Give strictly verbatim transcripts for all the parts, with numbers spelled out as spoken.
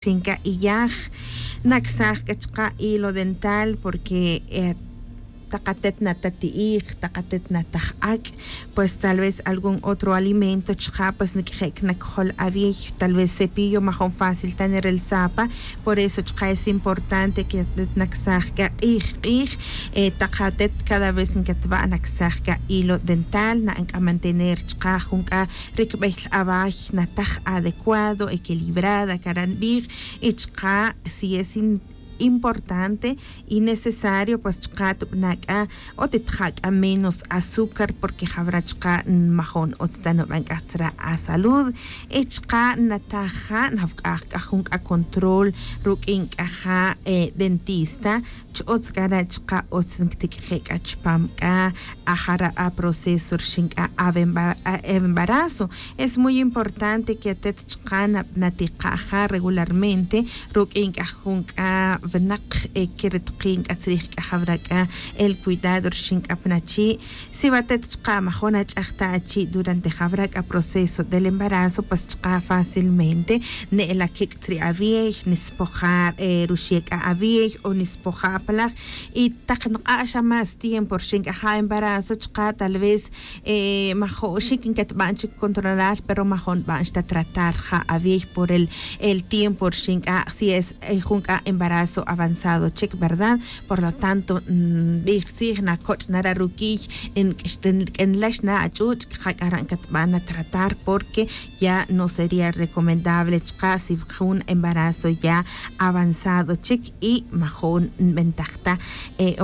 Xinca iyaj nacsaj c'a chka' hilo dental porque takatet natati'ij, takatet nataj ac', pues tal vez algún otro alimento chka' pues niq'uije' cnacjol aviey. Tal vez cepillo majun fácil ta nirelsapa. Por eso chka' es importante que nacsaj c'a k'ij k'ij. Takatet cada vez ncatba' nacsaj c'a hilo dental na'an c'a mantener chka' jun c'a ricbey away nataj adecuado, equilibrada cara' nbij. Y chka' si es importante y necesario pues chka' tubana' c'a o titja' c'a menos azúcar porque jawra' chka' majun utz ta nuban c'a tzra' asalud. Y chka' nataja' nawc'aj c'a jun c'a control ruq'uin c'a ja' dentista. Ch-utz c'a re' chka' utz ntiq'uije' c'a chupam c'a ajara' aproceso rixin c'a avembarazo. Es muy importante que atet chka' natika' ja regularmente ruq'uin c'a jun c'a winak que ritikin c'a tzrij c'a jawra' c'a el cuidado rixin c'a pa nachi'. Si watet chka' majun ach'aj ta achi' durante jawra' c'a proceso del embarazo pues chka' fácilmente ne'la quic' tzri' aviey, nispoja' ruxie' c'a aviey o nispoja' apalaj. Y tak nk'ax a más tiempo rixin c'a ja' embarazo chka' tal vez majun xic ncatban chic controlar pero majun nban xta tratar ja' aviey por el tiempo rixin c'a si es jun c'a embarazo avanzado chic, verdad? Por lo tanto nbij tzij nacoch' nara' ruquiy, nq'uixten q'uenlax na ach'uch' cak'ara' ncatban natratar porque ya no sería recomendable chka' si jun embarazo ya avanzado chic y majun nbentaj ta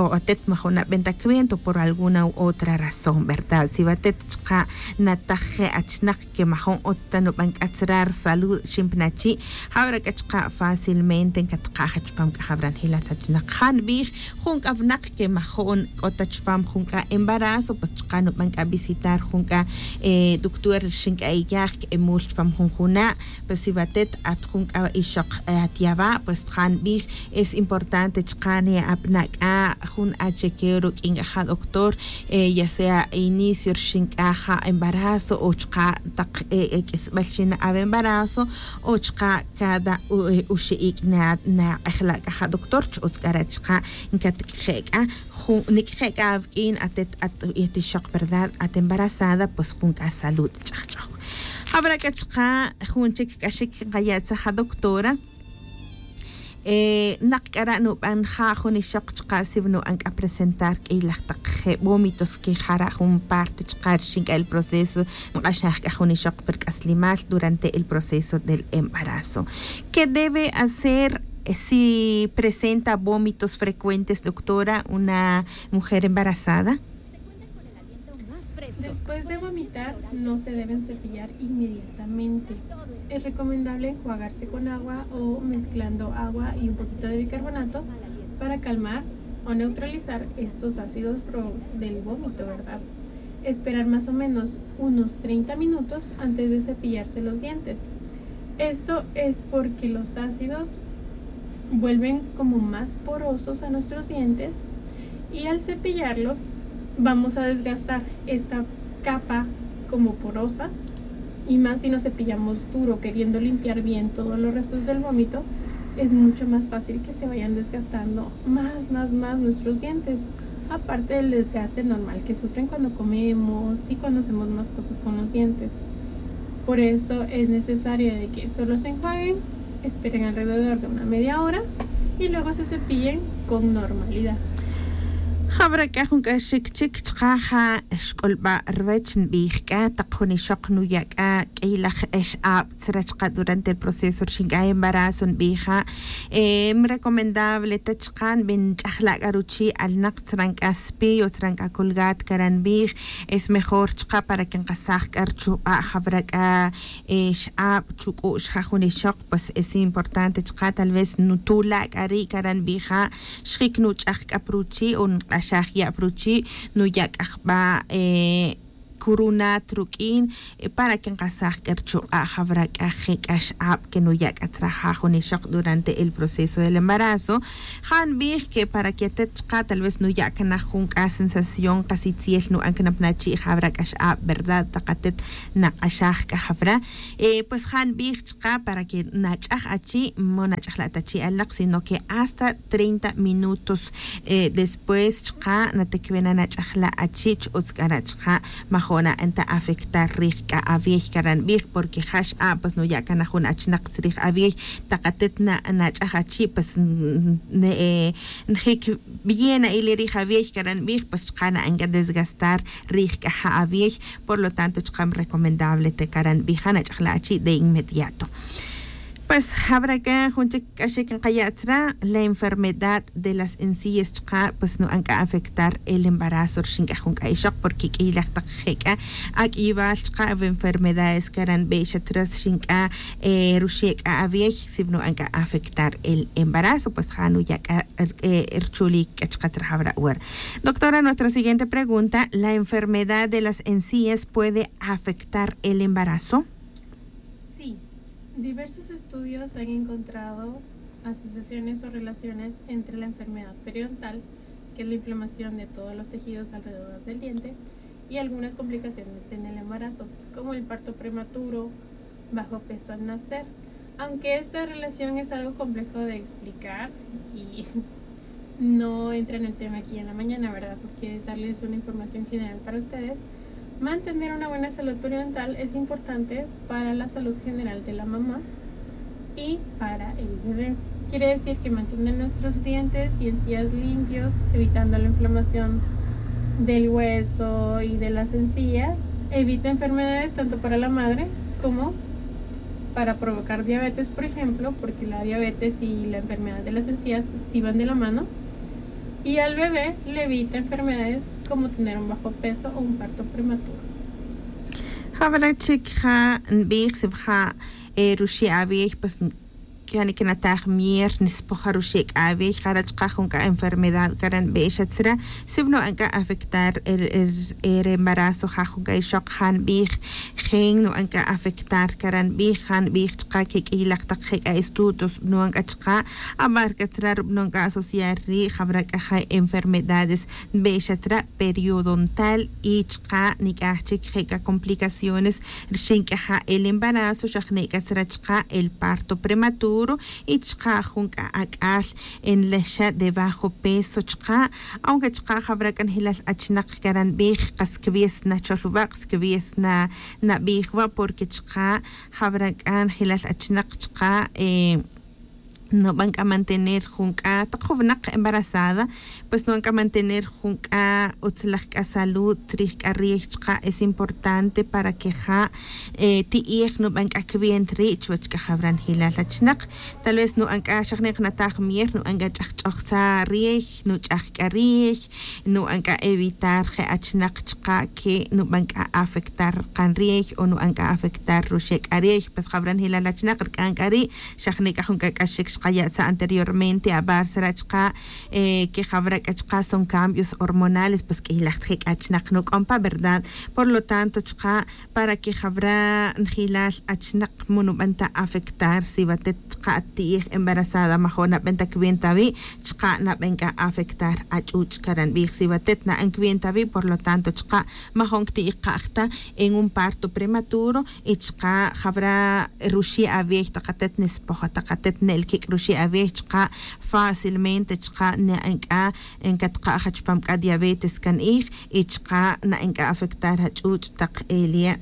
o atet majun naben ta cuento por alguna u otra razón, verdad? Si watet chka' nataj je' achinak que majun utz ta nuban c'a tzra' risalud rixin pa nachi', jawra' c'a chka' fácilmente ncatka' ja chupam c'a jawra' njilat achinak ja nbij jun c'a winak que majun c'o ta chupam jun c'a embarazo pues chka' nuban c'a visitar jun c'a doctor rixin c'a iyaj c'emul chupam jun juna'. Pues si watet at jun c'a ixok at yawa' pues ja nbij es importante chka' ne'abana' c'a jun achekeo ruq'uin c'a ja doctor ya sea inicio rixin c'a ja embarazo o chka' tak q'uisbel rixin na embarazo o chka' cada uxe' ic' nak'ejla' c'a ja doctor ch-utz c'a re' chka' ncatq'uije' c'a jun niq'uije' c'a awq'uin atet at ixok verdad at embarazada pues jun c'a salud ch'ajch'oj. Jawra' c'a chka' jun chic c'a xic nkaya' tzaj a doctora. Nak c'a ra' nuban ja jun ixok chka' si nuban c'a presentar q'uiy laj tak je' vómitos que jara' jun parte chka' rixin c'a el proceso nk'axaj c'a jun ixok pi ric'aslimal durante el proceso del embarazo. ¿Qué debe hacer si presenta vómitos frecuentes, doctora, una mujer embarazada? Después de vomitar, no se deben cepillar inmediatamente. Es recomendable enjuagarse con agua o mezclando agua y un poquito de bicarbonato para calmar o neutralizar estos ácidos pro- del vómito, ¿verdad? Esperar más o menos unos treinta minutos antes de cepillarse los dientes. Esto es porque los ácidos vuelven como más porosos a nuestros dientes y al cepillarlos vamos a desgastar esta capa como porosa y más si nos cepillamos duro queriendo limpiar bien todos los restos del vómito, es mucho más fácil que se vayan desgastando más, más, más nuestros dientes, aparte del desgaste normal que sufren cuando comemos y cuando hacemos más cosas con los dientes. Por eso es necesario de que solo se enjuaguen, esperen alrededor de una media hora y luego se cepillen con normalidad. Jawra' c'a jun c'a xic chic chka' ja xc'ulba' ruwech nbij c'a tak jun ixok nuya' c'a q'uiy laj x'ab tzra' chka' durante el proceso rixin c'a embarazo nbij ja. Recomendable ta chka' nbin nch'ajla' c'a ruchi' alnak tzra' c'a spillo tzra' c'a colgat cara' nbij. Es mejor chka' para que nkasaj c'a ruchuba' jawra' c'a x'ab chuc'u'x ja jun ixok pues es importante chka' tal vez nutula' c'a ri' cara' nbij ja. Xjic nuch'aj c'a pa ruchi' o nk'axaj ya' pa ruchi' nuya' c'a jba' Curunat ruq'uin para que nkasaj c'a ruchuk'a' jawra c'a je c'a x'ab que nuya' c'a tzra ja jun ixok durante el proceso del embarazo. Ja nbij que para que atet chka tal vez nuya' cana jun c'a sensación kas itziel nu'an cana pnachi' jawra c'a x'ab verdad tak atet nak'axaj c'a jawra. Pues ja nbij chka para que nach'aj achi' mo nach'aj la' ta chi' alnaq sino que hasta treinta minutos después chka natekwe na nach'aj la' achi' ch-utz c'a ra' chka majo' na'an ta afectar rij c'a awiey cara' nbij porque ja x'a' pues nuya' cana jun achnak tzrij awiey. Tak atet nach'aj achi' pues njic bien na'ile rij awiey cara' nbij pues chka na'an c'a desgastar rij c'a ja awiey. Por lo tanto chka recomendable te cara' nbij ja nach'aj la' achi' de inmediato. Pues jawra c'a jun chic c'a xic nkaya' tzra la enfermedad de las encías chka pues nu'an c'a afectar el embarazo rxin c'a jun c'a ixok porque q'uiylaj tak je c'a aq'uiywal chka enfermedades cara' nbe xa tzra rxin c'a ruxe' c'a awiey si nu'an c'a afectar el embarazo pues ja nuya' c'a ruchulic c'a chka tzra jawra wer. Doctora, nuestra siguiente pregunta, la enfermedad de las encías puede afectar el embarazo? Sí, diversos estudios han encontrado asociaciones o relaciones entre la enfermedad periodontal, que es la inflamación de todos los tejidos alrededor del diente, y algunas complicaciones en el embarazo, como el parto prematuro, bajo peso al nacer. Aunque esta relación es algo complejo de explicar y no entra en el tema aquí en la mañana, ¿verdad? Porque es darles una información general para ustedes. Mantener una buena salud periodontal es importante para la salud general de la mamá y para el bebé. Quiere decir que mantener nuestros dientes y encías limpios, evitando la inflamación del hueso y de las encías, evita enfermedades tanto para la madre como para provocar diabetes, por ejemplo, porque la diabetes y la enfermedad de las encías sí van de la mano, y al bebé le evita enfermedades como tener un bajo peso o un parto prematuro. Jawra chic ja nbij si ja ruxe' awiey pues cani que nataj mier nispoja ruxe' c'a awiey jara' chka jun c'a enfermedad cara' nbe xa tzra si nu'an c'a afectar re embarazo ja jun c'a ixok ja nbij. Jin nu'an c'a afectar cara' nbij ja nbij chka que q'uiylaj tak je c'a estudios nu'an c'a chka amarca tzra rub'non c'a asociar ri' jawra c'a ja enfermedades nbe xa tzra periodontal y chka nic'aj chic je c'a complicaciones rxin c'a ja el embarazo xaj ne c'a tzra chka el parto prematuro y chka jun c'a ac'al nle xa de bajo peso chka. Aunque chka jawra c'a njilal achnak cara' nbij kas cwies na chol wa' kas cwies na nabij wa' porque chka jawra c'a njilal achnak chka nuban c'a mantener jun c'a tak jun winak embarazada pues nuban c'a mantener jun c'a utzlaj c'a salud tzrij c'a riey chka es importante para que ja ti'ij nuban c'a cwienta ri' chuwech c'a jawra njilal achnak. Tal vez nuban c'a xajnik nataj mier nuban c'a ch'ajch'ojtza riey nuch'aj c'a riey nuban c'a evitar je achnak chka que nuban c'a afectar kan riey o nuban c'a afectar ruxe' c'a riey pues jawra njilal achnak rc'an c'a ri' xajnik c'a jun c'a c'a xic xkaya' tzra' anteriormente abar tzra' chka que jawra c'a chka son cambios hormonales pues q'uiylaj ta je c'a achnak nuc'on pa verdad. Por lo tanto chka para que jawra njilal achnak mo nuban ta afectar si watet chka ati'ij embarazada majo' naben ta cwienta wi' chka naben c'a afectar ach'uch' cara' nbij si watet na'an cwienta wi' por lo tanto chka majo' cti'ij ka'j ta en un parto prematuro y chka jawra ruxe' awiey tak atet nispoja tak atet ne'el quic' ruxe' awiey chka fácilmente chka na'an c'a ncatka'j chupam c'a diabetes can'ij y chka na'an c'a afectar ach'uch' tak elia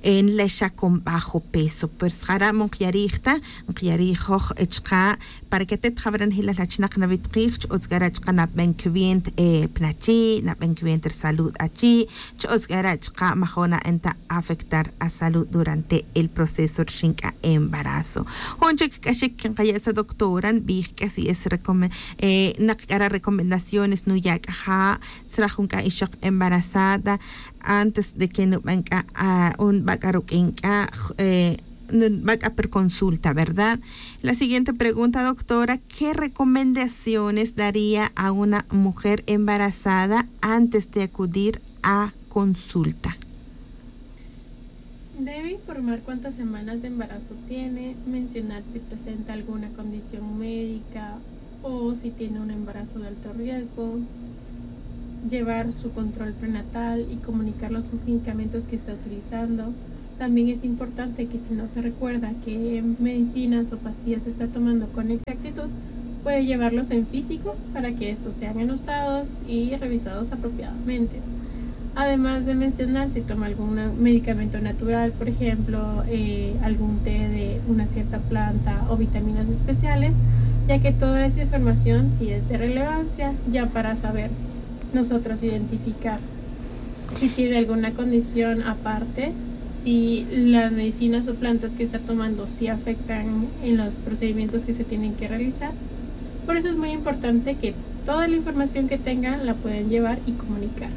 nle xa con bajo peso pues jara' mo nkyarij ta nkyarij joj chka para que atet jawra njilal achnak nawitqij ch-utz c'a ra' chka naben cwienta pnachi' naben cwienta risalud achi' ch-utz c'a ra' chka majo' na'an ta afectar asalud durante el proceso rxin c'a embarazo. Jun chic c'a xic nkaya' sa doctora nbij c'a si es nak c'a ra recomendaciones nuya' c'a ja' tzra jun c'a ixok embarazada antes de que nuban c'a o nba c'a ruq'uin c'a nuba c'a per consulta verdad? La siguiente pregunta doctora, ¿qué recomendaciones daría a una mujer embarazada antes de acudir a consulta? Debe informar cuántas semanas de embarazo tiene, mencionar si presenta alguna condición médica o si tiene un embarazo de alto riesgo, llevar su control prenatal y comunicar los medicamentos que está utilizando. También es importante que si no se recuerda qué medicinas o pastillas está tomando con exactitud, puede llevarlos en físico para que estos sean anotados y revisados apropiadamente. Además de mencionar si toma algún medicamento natural, por ejemplo, eh, algún té de una cierta planta o vitaminas especiales, ya que toda esa información sí es de relevancia ya para saber nosotros identificar si tiene alguna condición aparte, si las medicinas o plantas que está tomando sí afectan en los procedimientos que se tienen que realizar. Por eso es muy importante que toda la información que tengan la pueden llevar y comunicar.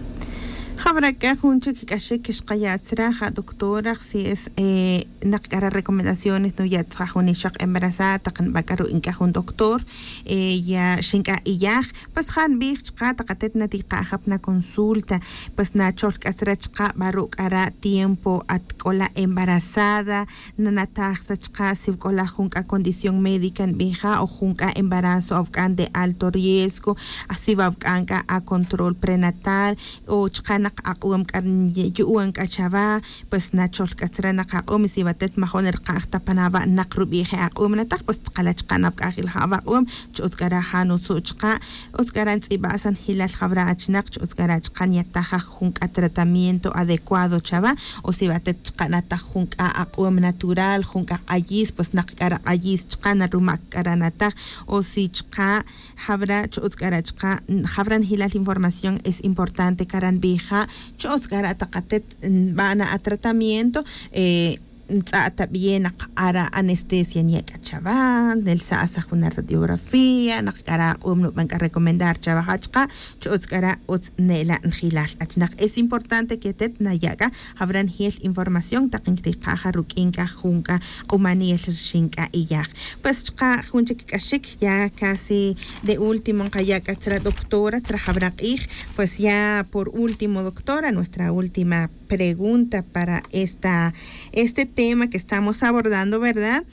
Jawra' k'a jun chik k'axik xqaya' tzra ja doctora si es, eh, naq k'a ra recomendaciones nuya' tzra jun ixoq embarazada taq nb'a' k'a ruq'in k'a jun doctor, eh, ya xin k'a iyaj. Pues ja nb'ij chqa taq atet natiq'a' jab' na consulta, pues nachol k'a tzra chqa b'a ru' k'a ra tiempo atk'ola embarazada, nanataj tzra chqa si wk'ola jun k'a condición médica nb'ija o jun k'a embarazo awk'an de alto riesgo, si wa awk'an k'a acontrol prenatal o chqa naq aq'om k'a yu'on k'a chawa. Pues nachol k'a tzra naq aq'om si wa atet majon rqa'j ta pan awa' naq rub'ij e aq'om nataj pues tqala' chqa nawk'ajil ja awaq'om. Chi utz k'a ra ja nutzu' chqa utz k'a ra ntz'ib'a' sanjilal jawra achnaq chi utz k'a ra chqa nyataj jun k'a tratamiento adecuado chawa. O si wa atet chqa nataj jun k'a aq'om natural jun k'a q'ayis pues naq k'a ra q'ayis chqa narumak k'a ra nataj. O si chqa jawra' chi utz k'a ra chqa jawra njilal información es importante k'a ra nb'ija. Chi utz k'a ra taq atet nb'a' na atratamiento, eh, ntz'a' ta b'iye' naq ara anestesia nya' k'a chawa nelsa' asa jun aradiografía naq k'a ra aq'om nub'an k'a recomendar chawa ja chqa. Chi utz k'a ra utz ne'la' njilal achnaq es importante que atet naya' k'a jawra njiel información taq nktiqa' ja ruk'in k'a jun k'a q'umanel rxin k'a iyaj. Pues chqa jun chik k'axik ya casi de último nqaya' k'a tzra doctora tzra jawra q'ij. Pues ya por último doctora nuestra última pregunta para esta este tema que estamos abordando, verdad?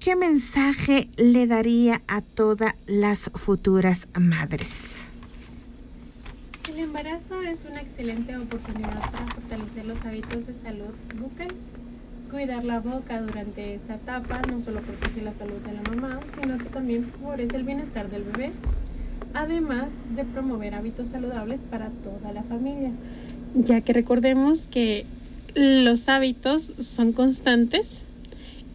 Qué mensaje le daría a toda las futuras madres? El embarazo es una excelente oportunidad para fortalecer los hábitos de salud bucal. Cuidar la boca durante esta etapa no solo protege la salud de la mamá, sino que también favorece el bienestar del bebé, además de promover hábitos saludables para toda la familia, ya que recordemos que los hábitos son constantes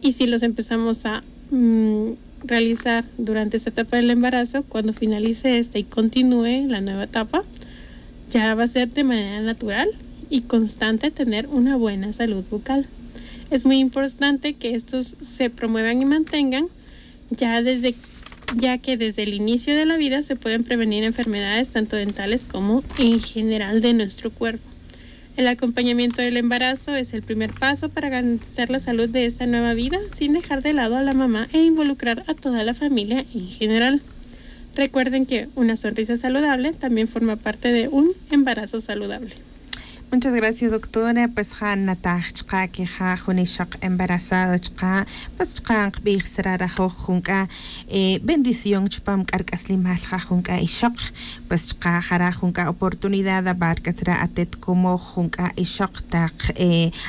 y si los empezamos a mm, realizar durante esta etapa del embarazo, cuando finalice esta y continúe la nueva etapa, ya va a ser de manera natural y constante tener una buena salud bucal. Es muy importante que estos se promuevan y mantengan, ya desde, ya que desde el inicio de la vida se pueden prevenir enfermedades tanto dentales como en general de nuestro cuerpo. El acompañamiento del embarazo es el primer paso para garantizar la salud de esta nueva vida sin dejar de lado a la mamá e involucrar a toda la familia en general. Recuerden que una sonrisa saludable también forma parte de un embarazo saludable. Muchas gracias doctora. Pues ja nataj chqa que ja jun ixoq embarazada chqa pues chqa nqbij sra rajoj jun k'a bendición chupam k'a rk'aslimal ja jun k'a ixoq. Pues chqa jara jun k'a oportunidad abar k'a tzra atet como jun k'a ixoq taq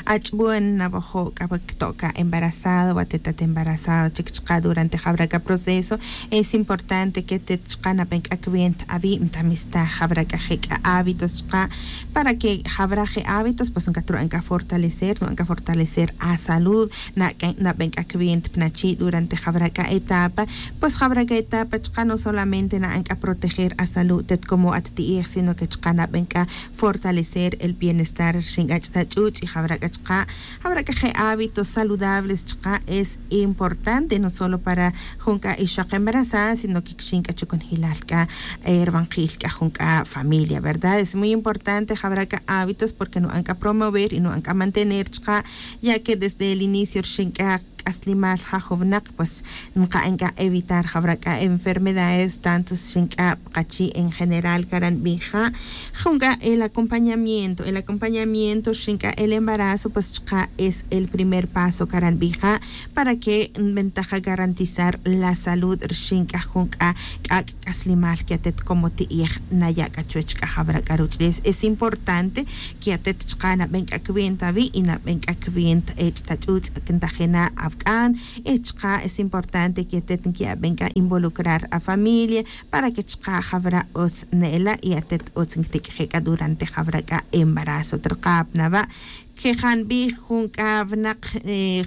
ach'bon nawojo' k'a wa kto' k'a embarazada wa atet at embarazada chik chqa durante jawra k'a proceso. Es importante que atet chqa naben k'a cuenta awib nta mistaj jawra k'a je' k'a hábitos chqa para que jawra je' hábitos pues nkatru'an k'a fortalecer nu'an k'a fortalecer asalud. Naben k'a cuenta pnachi' durante jawra k'a etapa. Pues jawra k'a etapa chqa no solamente na'an k'a proteger asalud tet como at ti'ej sino que chqa naben k'a fortalecer el bienestar rxin k'a ch'ta ch'uch' y jawra k'a chqa jawra k'a je' hábitos saludables chqa es importante no solo para jun k'a ixoq embarazada sino que kixin k'a chukunjilal k'a rbanqil k'a jun k'a familia verdad es muy importante jawra k'a hábitos porque nu'an k'a promover y nu'an k'a mantener chqa ya que desde el inicio rxin k'a k'aslimal ja jun winak pues nka'an k'a evitar jawra k'a enfermedades tanto xin k'a pa qachi' en general karan b'ija. Jun k'a el acompañamiento el acompañamiento rixin k'a el embarazo pues chqa' es el primer paso karan b'ija para que nb'entaja garantizar la salud rixin k'a jun k'a k'ak' k'aslimal que atet como ti'ej naya' k'a chuwech k'a jawra k'a ruch'ulel es importante que atet chqa' nab'en k'a cuenta awi' y nab'en k'a cuenta ch'ta ch'uch' ntajina' awk'an. Y chqa' es importante que atet nki'ab'en k'a involucrar afamilia para que chqa' jawra utz ne'ela' y atet utz nkitik'ije' k'a durante jawra k'a embarazo trqa' pa nawa' que ja nb'ij jun k'a winak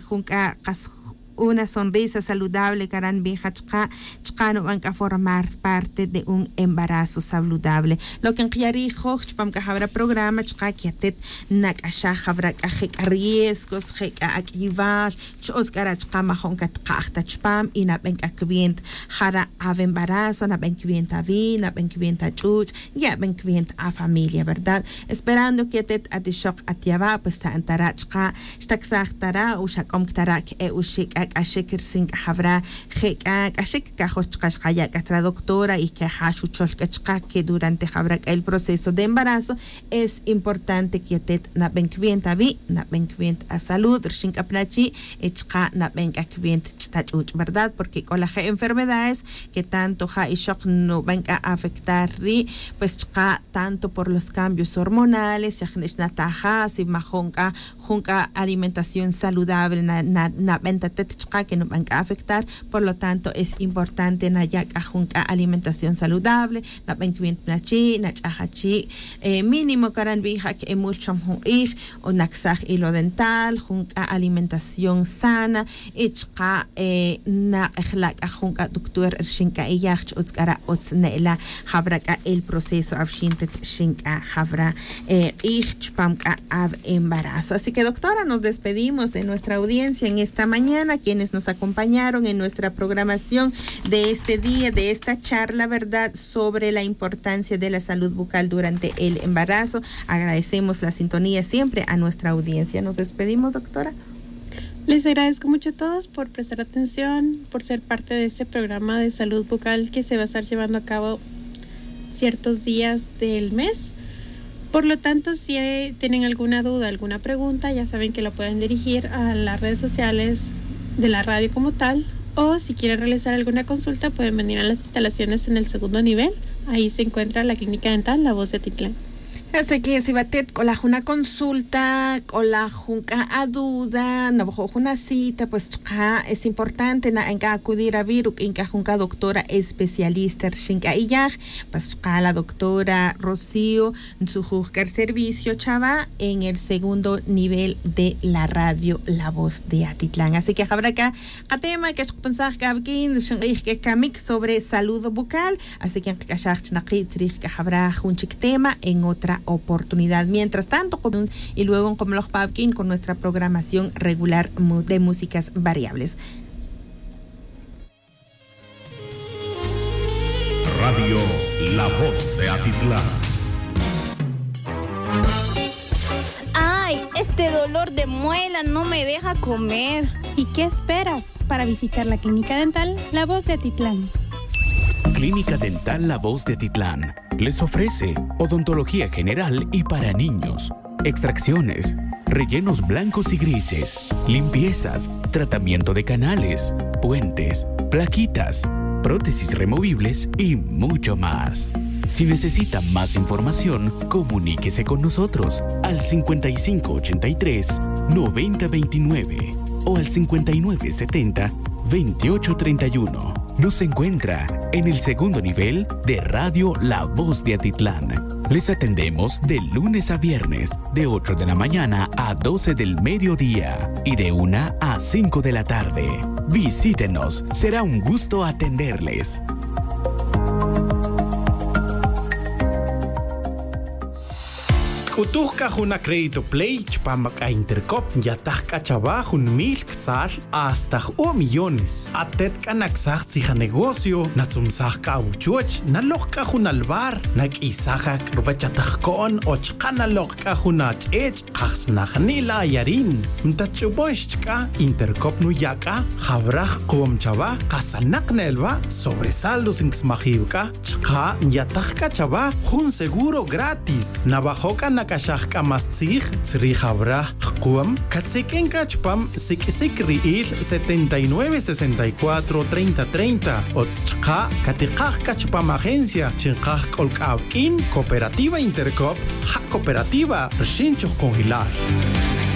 jun k'a qas una sonrisa saludable karan nb'ija chqa' chqa' nub'an k'a formar parte de un embarazo saludable. Lo que nqya' ri'joj chupam k'a jawra programa chqa' que atet nak'axaj jawra k'a je' k'a riesgos je' k'a ak'iwal chi utz k'a ra' chqa' majo'n katqa'j ta chupam y nab'en k'a cuenta jara' awembarazo nab'en cuenta awi' nab'en cuenta ach'uch' nki'ab'en cuenta afamilia verdad. Esperando que atet at ixoq at yawa' pues xta'an ta ra' chqa' xtaksaj ta ra' o xak'om ta ra' que e uxi' k'a k'axik ricin k'a jawra je' k'a k'axik kajoj chqa' xqaya' k'a tra doctora y que ja xuchol k'a chqa' que durante jawra k'a el proceso de embarazo es importante que atet nab'en cuenta awi' nab'en cuenta asalud rixin k'a pa nachi' y chqa' nab'en k'a cuenta ch'ta ch'uch' verdad porque k'o la je' enfermedades que tanto ja ixoq nub'an k'a afectar ri' pues chqa' tanto por los cambios hormonales xa jni' xnataja si majo'n k'a jun k'a alimentación saludable nab'en ta atet chqa' que nub'an k'a afectar. Por lo tanto es importante naya' k'a jun k'a alimentación saludable nab'en cuenta nachi' nach'aj achi' mínimo karan nb'ija que emul cham jun q'ij o naksaj hilo dental jun k'a alimentación sana y chqa' nak'ejla' k'a jun k'a doctor rixin k'a iyaj chi utz k'a ra' utz ne'ela' jawra k'a el proceso awxin tet rixin k'a jawra q'ij chupam k'a aw embarazo. Así que doctora nos despedimos de nuestra audiencia en esta mañana quienes nos acompañaron en nuestra programación de este día de esta charla verdad sobre la importancia de la salud bucal durante el embarazo. Agradecemos la sintonía siempre a nuestra audiencia nos despedimos doctora. Les agradezco mucho a todos por prestar atención, por ser parte de este programa de salud bucal que se va a estar llevando a cabo ciertos días del mes. Por lo tanto, si tienen alguna duda, alguna pregunta, ya saben que la pueden dirigir a las redes sociales de la radio como tal, o si quieren realizar alguna consulta, pueden venir a las instalaciones en el segundo nivel. Ahí se encuentra la clínica dental La Voz de Atitlán. Así que si batet k'ola jun aconsulta k'ola jun k'a aduda nawajo' jun acita pues chqa' es importante na'an k'a acudir awi' ruk'in k'a jun k'a doctora especialista rixin k'a iyaj. Pues chqa' la doctora Rocío ntzujuj k'a riservicio chawa en el segundo nivel de la radio La Voz de Atitlán así que jawra k'a katema k'a xqapansaj k'a awik'in rixin q'ij k'a kamik sobre salud bucal. Así que nqak'axaj chi naqi' tzrij k'a jawra jun chik tema en otra oportunidad mientras tanto y luego nqomloj pa awik'in con nuestra programación regular de músicas variables. Radio La Voz de Atitlán. Ay, este dolor de muela no me deja comer. ¿Y qué esperas para visitar la clínica dental La Voz de Atitlán? Clínica Dental La Voz de Atitlán les ofrece odontología general y para niños, extracciones, rellenos blancos y grises, limpiezas, tratamiento de canales, puentes, plaquitas, prótesis removibles y mucho más. Si necesita más información, comuníquese con nosotros al cincuenta y cinco ochenta y tres, noventa veintinueve o al cincuenta y nueve setenta, veintiocho treinta y uno. Nos encuentra en el segundo nivel de Radio La Voz de Atitlán. Les atendemos de lunes a viernes, de ocho de la mañana a doce del mediodía y de una a cinco de la tarde. Visítenos, será un gusto atenderles. Utuj c'a jun acrédito play chupam c'a intercop nyataj c'a chawa jun mil ctzal hasta ju'o' millones. Atet c'a nacsaj tzija negocio natzumsaj c'a awuchuoch nalok c'a jun albar naq'uisaj ac ruwech atajco'n o chka' nalok c'a jun ach'ech' kajsnajni' la ayarin. Ntatch'ubon xch'c'a intercop nuya' c'a jawraj kuom chawa kasanak ne'elwa' sobresaldos ncsmajiw c'a chka' nyataj c'a chawa jun seguro gratis. Nawajo' c'a nac'axaj c'a más tzij tzrij jawraj jkuom catziq'uin c'a chupam siq'uisic ri'il setenta y nueve sesenta y cuatro treinta treinta. Otz chka' catikaj c'a chupam agencia chi nkaj c'ol c'a awq'uin cooperativa intercop ja cooperativa rxin chujkunjilal.